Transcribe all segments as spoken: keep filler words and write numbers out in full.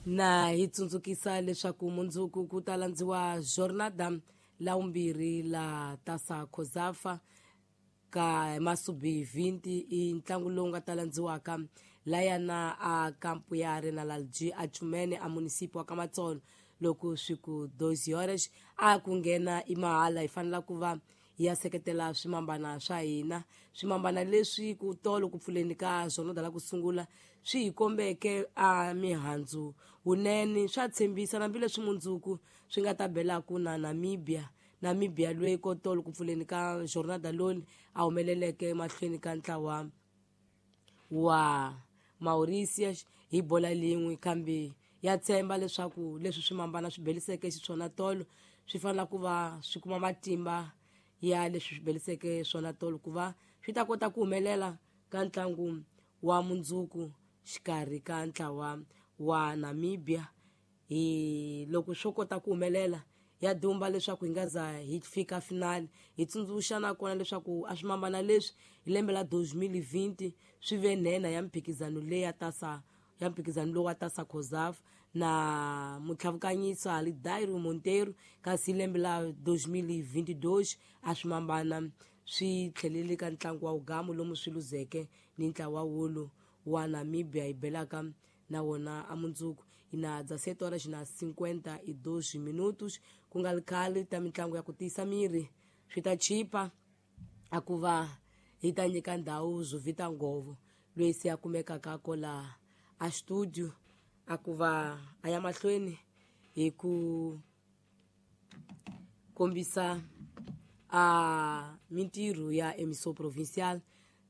Na hi tsundzukisa leswaku mundzuku ku ta landziwa jornada la vumbirhi la Taça COSAFA ka masubi twenty i ntlangu lowu nga ta landziwaka layana a kampu ya Arena Lalji a Chumene a municipio wa Kamatsolo loko swi ku doze horas a ku nghena i mahala. Hi fanela ku va hi ya seketela swimambana swa hina, swimambana leswi ku tolo ku pfuleni ka jornada la ku sungula swi hi kombeke a mihandzu wunene, swa tshembisa hambileswi mundzuku swi nga ta belaku na Namibia. Namibia loyi ko tolo ku pfuleni ka jornada loli a humeleleke mahlweni ka ntlawa wa Mauritius hi bola lin'we, kambe ya tshemba leswaku leswi swimambana swi beliseke xiswona tolo swi fanela ku va swi kuma matimba ya leswi swi beliseke swona tolo ku va swi ta kota ku humelela ka ntlangu wa mundzuku xikarhi ka ntlawa wa Namibia. Hi loko swo kota ku humelela ya dumba leswaku hi nga za hi fika finali. Hi tsundzuxa nakona leswaku a swimambana leswi hi lembe la twenty twenty swi ve nhenha ya mphikizano leyi ya Taça ya mphikizano lowu wa Taça COSAFA na mutlhavukanyisa Alidairo Monteiro, kasi hi lembe la twenty twenty-two a swimambana swi tlhelele ka ntlangu wa ugamu lomu swi luzeke ni ntlawa wolo wa Namibia hi belaka na wona a mundzuku. Ina dezessete horas na cinquenta e dois minutos ku nga ri khale ta mitlangu ya ku tiyisa miri swi ta chipa a ku va hi ta nyika ndhawu Zuvita Ngovo loyi se a kumekaka kola a studio a ku va a ya mahlweni hi ku kombisa a mintirho ya Emissão Provincial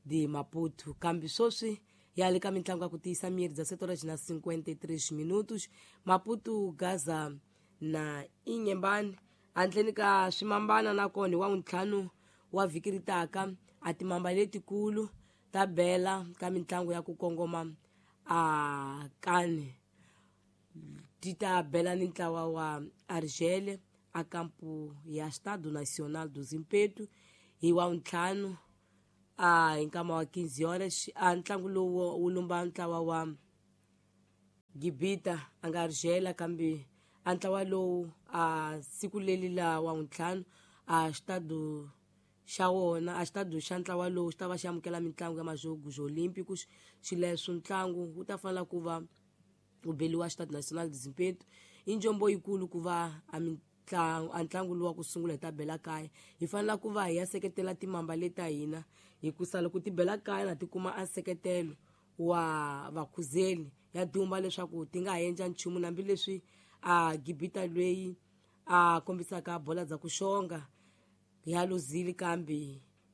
de Maputo. Kambe sweswi ya le ka mitlangu ya ku tiyisa miri dezessete horas na cinquenta e três minutos Maputo Gaza na Inhambane handleni ka swimambana nakona hi wa ntlhanu wa vhiki ri taka a timamba letikulu ta bela ka mitlangu ya ku kongoma a kani ti ta bela ni ntlawa wa Argel a kampu ya Estado Nacional do Zimpeto hi wa ntlhanu a hi nkama wa quinze horas. A ntlangu lowu wu lumba ntlawa wa Gibita a nga Argel, kambe a ntlawa lowu a siku leli la wa ntlhanu a Estado xa wona a xitado xa ntlawa lowu xi ta va xi amukela mitlangu ya Majogos Olímpicos. Xileswo ntlangu wu ta fanela ku va wu beliwa Estado Nacional de Zimpeto. I njombo yikulu ku va a mitlangu a ntlangu lowu wa ku sungula hi ta bela kaya. Hi fanela ku va hi ya seketela timamba leta hina hikusa loko ti bela kaya na ti kuma a nseketelo wa vakhuzeli ya dumba leswaku ti nga ha endla nchumu, hambileswi a Gibita loyi a kombisaka bola dza ku xonga ya luzile kambe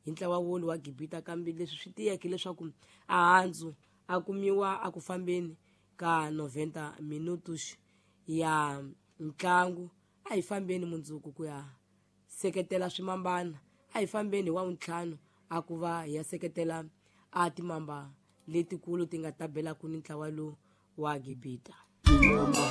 hi ntlawa wolo wa Gibita, kambe leswi swi tiyeke leswaku a handzu a kumiwa a ku fambeni ka noventa minutos ya ntlangu. A hi fambeni mundzuku ku ya seketela swimambana, a hi fambeni hi wa ntlhanu a ku va hi ya seketela a timamba letikulu ti nga ta belaku ni ntlawa lowu wa Gibita.